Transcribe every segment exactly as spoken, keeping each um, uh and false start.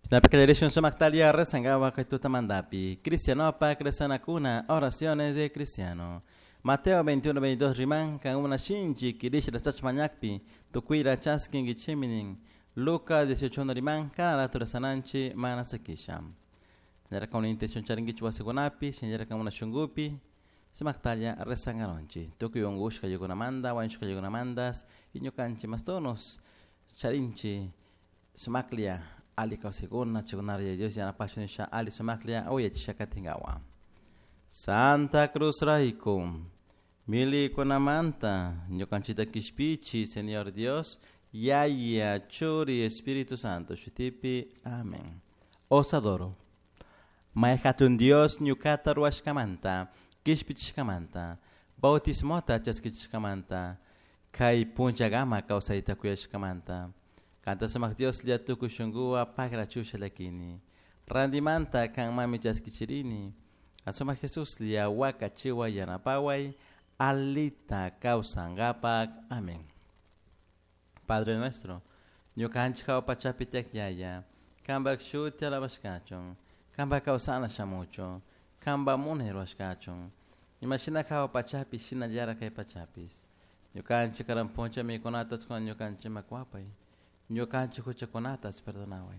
Shinapika sumaktalia rezangawa kay tutamantapi. Cristianopak rezanakuna, oraciones de cristiano. Mateo veintiuno veintidós riman kankuna shinchi kirisha rezachun mañakpi tukuyla chaskinkichikmi nin. Lucas dieciocho uno riman cada rato rezananchik mana sakisha. Shinallara una intención charinkichik wasikunapi, shinallara una shunkupi sumaktalla rezangaronchik. Tukuy unkushka yukunamanta, wañushka yukunamantas y ñukanchik mastonos charinchik sumaklla ali kawsaykuna chaykunara Dios yanapashun nisha ali sumaklla uyachisha katinkawa. Santa Cruz rayku milikunamanta ñukanchikta kishpichi Señor Dios, Yaya, Churi, Espíritu Santo, shutipi. Amén. Os adoro. May hatun Dios ñukata ruwashkamanta, kishpichishkamanta, bautismota chaskichishkamanta, kay punchagama kawsayta kuyashkamanta. Kanta sumak Dios lla tukuy shunkuwa pagrachusha llakini. Randimanta kanmami chaskichirini. Asumak Jesús lla wakachiwa yanapaway, alita kawsankapak. Amén. Padre nuestro, ñukanchik hawa pachapi tiyak Yaya, kanpak shuti alabashkachun, kanpak kawsana shamuchun, kanpak munay rurashkachun. Imashina hawa pachapi shinallara kay pachapis. Ñukanchik karan puncha mikunata chukuna ñukanchikman kuwapay. Ñukanchik huchakunatas perdonaway.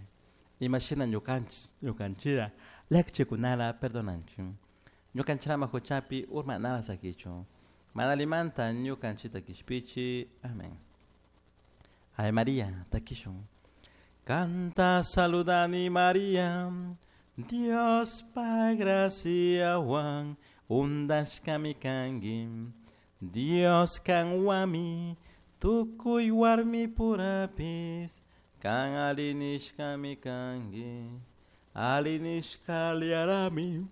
Imashina ñukanchik ñukanchira llakichikunara perdonanchik. Ñukanchirama huchapi urmanara sakichun. Mana allimanta ñukanchikta kishpichi. Amén. Ave María, takishun. Canta saludani María, Dios pa graciawan undashkami kanki. Dios kanwami tukuy warmi purapis, kan alinishkami kanki. Alinishka liarami,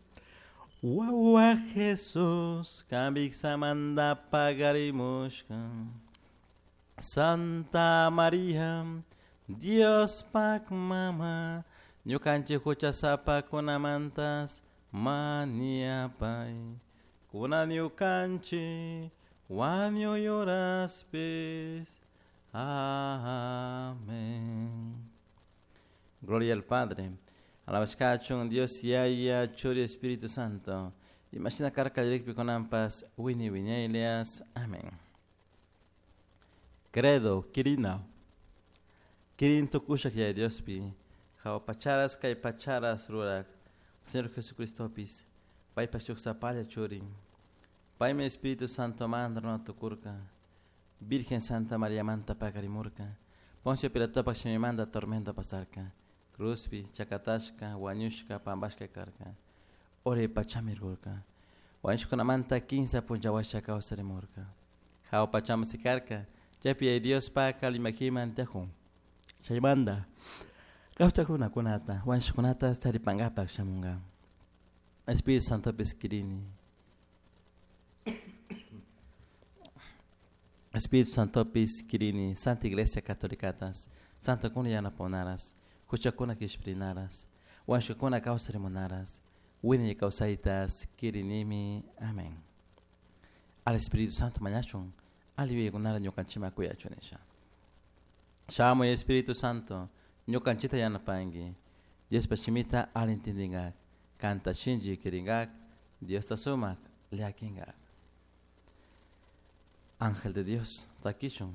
wawa Jesús, kanbiksamanta pagarimushka. Santa María, Dios pak mama, ñukanchik huchasapakunamantas maniapay. Kuna ñukanchik wañuy horaspis. Amén. Gloria al Padre, alabashkachun Dios Yaya, Churi, Espíritu Santo. Imashina karka lirikpi kunanpas wini wiñaylias. Amén. Credo, Kirina. Kirin tukushak Yaya Diospi, hawa pacharas kay pacharas rurak, Señor Jesucristopis, paypa shuk sapalla churin. Paymi Espíritu Santo manta runa tukurka, Virgen Santa María manta pakarimurka, Poncio Pilatopak shimimanta tormento pasarka, cruzpi, chakatashka, wañushka, pampashka karka, uray pachami rurka, wañushkunamanta kinsa punchawasha kawsarimurka, hawa pachaman sikarka, chaypi Yaya Diospak allimakiman tiyakun, chaymanta kawsak runakunata, wañushkunata taripankapak shamunka. Espíritu Santopis kirini. Espíritu Santopis kirini, Santa Iglesia Catolicatas, Santa kuna yanaponaras, huchakuna kishpirinaras, wañushkakuna kawsarimunaras, wiñay kawsaytas kirinimi. Amén. Al Espíritu Santo mañashun, alli yuyaykunara ñukanchikman kuyachun nisha. Shamuy Espíritu Santo, ñukanchikta yanapanki, Diospa shimita alli entendinkak, kanta shinchi kirinkak, Diosta sumak llakinkak. Ángel de Dios, takishun.